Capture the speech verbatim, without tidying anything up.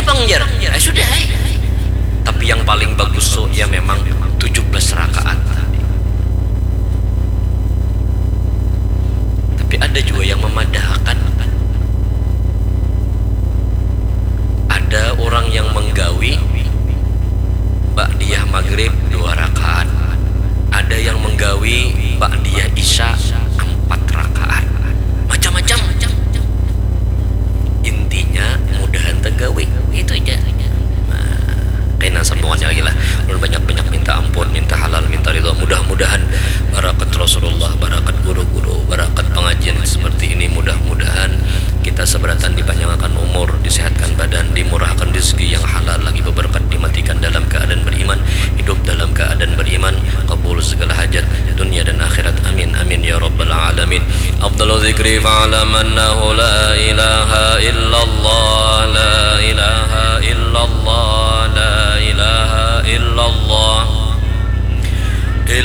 Bang jar, eh, sudah eh. Tapi yang paling bagus so ya memang tujuh belas rakaat tadi. Tapi ada juga yang memadahakan. Ada orang yang menggawi ba'diyah maghrib dua rakaat. Ada yang menggawi ba'diyah isya empat rakaat. Macam-macam. Intinya mudahan tergawi itu aja. Nah, kena semuanya lagi lah. Ulun banyak-banyak minta ampun, minta halal, minta ridho. Mudah-mudahan barakat Rasulullah, barakat guru-guru, barakat pengajian seperti ini, mudah-mudahan kita seberatan dipanjangkan umur, disehatkan badan, dimurahkan rezeki yang halal, lagi beberkat, dimatikan dalam keadaan beriman, hidup dalam keadaan beriman, kabul segala hajat dunia dan akhirat. Amin amin ya rabbal alamin. Afdalu dzikri fa'lam annahu la ilaha illallah.